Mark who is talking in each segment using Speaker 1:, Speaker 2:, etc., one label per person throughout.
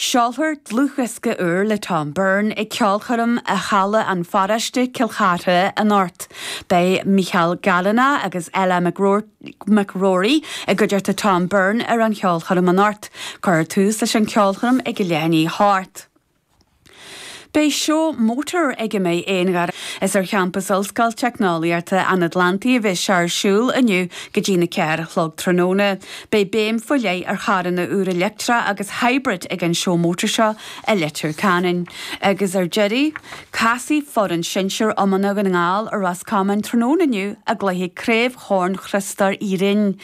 Speaker 1: Seolfar dlúthdhiosca úr le Tom Byrne ag ceolchoirm i Halla an Pharóiste, Cill Chartha anocht. Beidh Micheál Gallanagh agus Ella McGrory i gcuideachta Tom Byrne ar an cheolchoirm anocht. Cuirfear tús leis an cheolchoirm ag a leath i ndiaidh a hocht. Beidh seó mótar ag a mbeidh aon ghair. Is ar champas Ollscoil Teicneolaíochta an Atlantaigh a bheas sé ar siúl inniu go dtína 4 a chlog tráthnóna. Beidh béim faoi leith ar charranna úra leictreach agus hybrid ag an seó mótar seo i Leitir Ceanainn. Agus ar deireadh, casfaidh foireann sinsir iomána Dhún na nGall ar Ros Comáin tráthnóna inniu i gcluiche Craobh Chorn Chriostóir Uí Rinn.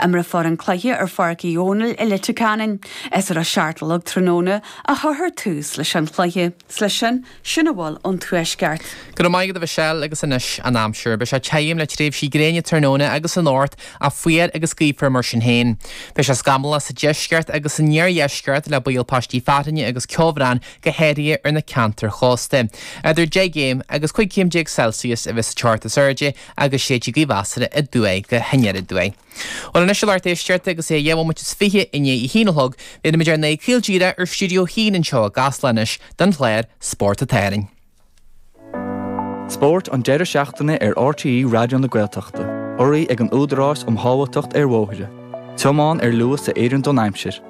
Speaker 1: Imreofar an cluiche ar Pháirc Uí Dhónaill i Leitir Ceanainn. Is ar a 7 a chlog tráthnóna a chuirfear tús leis an chluiche. 'S leis sin, sin a bhfuil ón Tuaisceart.
Speaker 2: Go raibh maith agat a Mhichelle agus anois an aimsir. Beidh sé tirim le tréimhsí gréine tráthnóna agus anocht ach fuar agus gaofar mar sin féin. Beidh sé scamallach sa deisceart agus san iardheisceart le baol paistí fearthainne agus ceobhrán go háirithe ar na ceantair chósta. Idir 10 gcéim agus 15 céim Celsius a bheas sa teocht is airde agus séidfidh gaoth mheasartha aduaidh go haniar aduaidh. Bhuel anois a lucht éisteachta agus é 2 bhomaite is 20 i ndiaidh a haon a chlog, bhéarfaimid ár n-aghaidh caol díreach ar Stiúideo 1 anseo i gCasla anois don chlár Spórt an tSathairn.
Speaker 3: Spórt an deireadh seachtaine ar RTÉ Raidió na Gaeltachta, urraithe ag an Údarás um Shábháilteacht ar Bhóithre. Tiomáin ar luas a oireann don aimsir.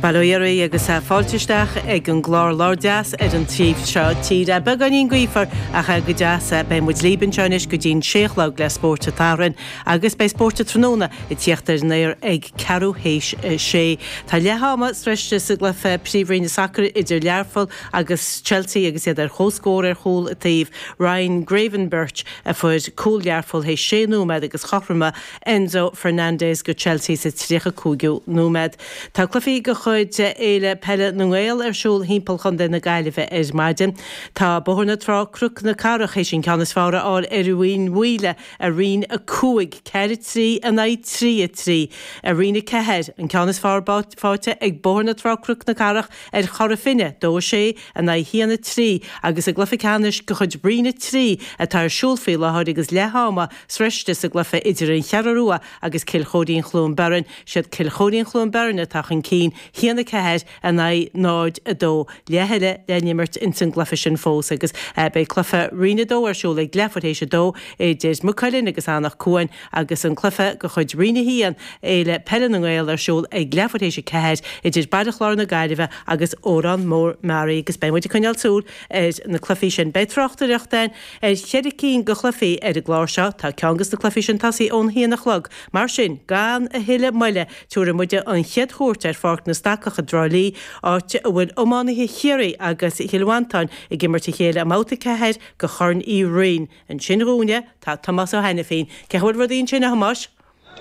Speaker 4: Bail ó Dhia oraibh agus fáilte isteach ag an gclár Labhair Deas ar an taobh seo tíre. Beagáinín gaofar ach go deas. Beidh muid libh anseo anois go dtí'n sé a chlog le Spórt an tSathairn agus beidh Spórt an Tráthnóna ag tíocht ar an aer ag ceathrú théis a sé. Tá leath ama sroiste sa gcluiche Príomhroinne Sacair idir Learpholl agus Chelsea agus iad ar comhscór ar chúl an taobh. Ryan Gravenberch a fuair cúl Learpholl théis sé nóiméad agus chothromaigh Enzo Fernandez go Chelsea sa 35ú nóiméad. Tá cluichí de chuid Fhéile Peile na nGael ar siúl thimpeall chontae na Gaillimhe ar maidin. Tá Bóthar na Trá Cnoc na Cathrach théis an ceann is fearr a fháil ar Rinn Mhaoile i Roinn 5, 4, 3 in aghaidh 3, 3. I Roinn 4, an ceann is fearr faighte ag Bóthar na Trá Cnoc na Cathrach ar Chora Finne, 2, 6 in aghaidh 1, 3, agus i gcluiche ceannais de chuid Roinn 3 atá ar siúl faoi láthair agus leath ama sroiste sa gcluiche idir An Cheathrú Rua agus Cill Chóirín Chluain Beirn, siad Cill Chóirín Chluain Beirn atá chun cinn, 1, 4 in aghaidh 0, 2. Leath eile le n-imirt ins an gcluiche sin fós agus beidh cluiche Roinn 2 ar siúl ag leathuair théis a dó idir Maigh Cuilinn agus Anach Cuain agus an cluiche de chuid Roinn 1, Fhéile Peile na nGael ar siúl ag leathuair théis a 4 idir Baile Chláir na Gaillimhe agus Órán Mór Meáraí agus beidh muid ag coinneáil súil ar na cluichí sin. Beidh tráchtaireacht againn ar cheithre cinn de chluichí ar an gclár seo. Tá ceann de na cluichí sin tosaithe ón haon a chlog. Mar sin, gan a thuilleadh moille, tabharfaidh muide an chéad chuairt ar Pháirc na Stacach i dTrá Lí, áit a bhfuil iománaithe Chiarraí agus Chill Mhantáin ag imirt a chéile i mbabhta 4 de Chorn Uí Rinn. Ansin dhúinne tá Tomás Ó hAiniféin. Cén chaoi a bhfuil rudaí ansin, a Thomáis?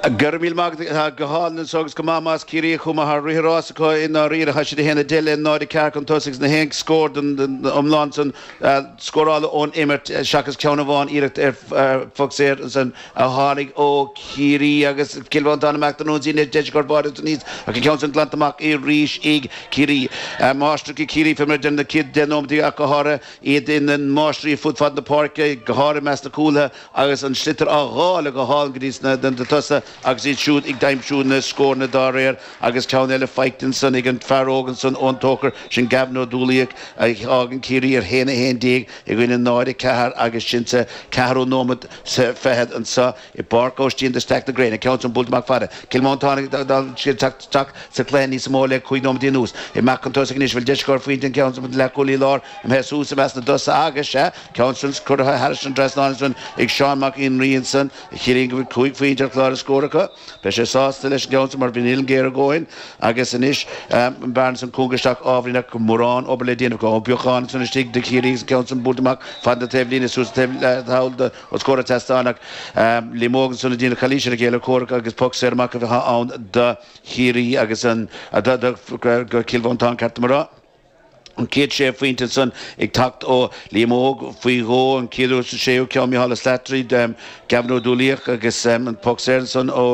Speaker 5: Go raibh míle maith agat. Tá go hálainn anso agus go maith más Ciarraí a chuaigh mar rith an rás acu i ndáiríre. Tá siad 1 10 le 0 4 chun tosaigh agus na haon scór den iomlán san scóráladh ón imirt seachas ceann amháin iarracht ar phoc saor ansan a tháinig ó Chiarraí agus Cill Mhantáin amach don ionsaí anois deis acu ar bháide san aníos ach an ceann san glanta amach arís ag Ciarraí. Máistreacha Ciarraí fé mar a deir na chéad 10 nóiméad ach go háirithe iad ina máistrí fud fad na páirce, go háirithe i measc na cúlaithe agus an sliotar á dháileadh go hálainn go dtí sna tosaithe agus iad siúd ag aimsiú na scóranna dá réir agus ceann eile faighte ansan ag an fear óg ansan ón Tóchar, sin Gavin Ó Dúlaíoch a fhágann Ciarraí ar 1-11 i gcoinne 0-4 agus sin sa ceathrú nóiméad 's fichead anso i bPáirc Aibhistín de Staic na Gréine. Ceann san buailte amach fada. Cill Mhantáin ag dul isteach sa chluiche níos mó le 5 nóiméad anuas. Amach chun tosaigh anois. Bhfuil deis acu ar phointe an ceann san leathchúlaí láir imithe suas i measc na dtosaithe agus, sea, ceann san curtha thairis an dtrasnán ansan ag Seán Mac Fhionnraoigh ansan a chiallaíonn go bhfuil 5 phointe ar chlár a scór acu. Beidh sé sásta leis an gceann san mar bhí an uillinn géar a dhóthain agus anois an bearna san cúnga isteach ábhairín ach mórán obair le déanamh acu. Ó Beacháin ansan istigh do Chiarraí agus an ceann san buailte amach fad na taobhlíne suas an taobh thall do os comhair an tseastáin ach Liam Óg ansan ag déanamh calaois ar a chéile comhrac agus poc saor amach a bheadh ann do Chiarraí agus an do Chill Mhantáin ceart dom a rá. An chéad sé phointe ansan ag teacht ó Liam Óg faoi dhó, an chéad uair sa séú ceann Micheál Ó Slattery, Gavin Ó Dúlaíoch agus an poc saor ansan ó.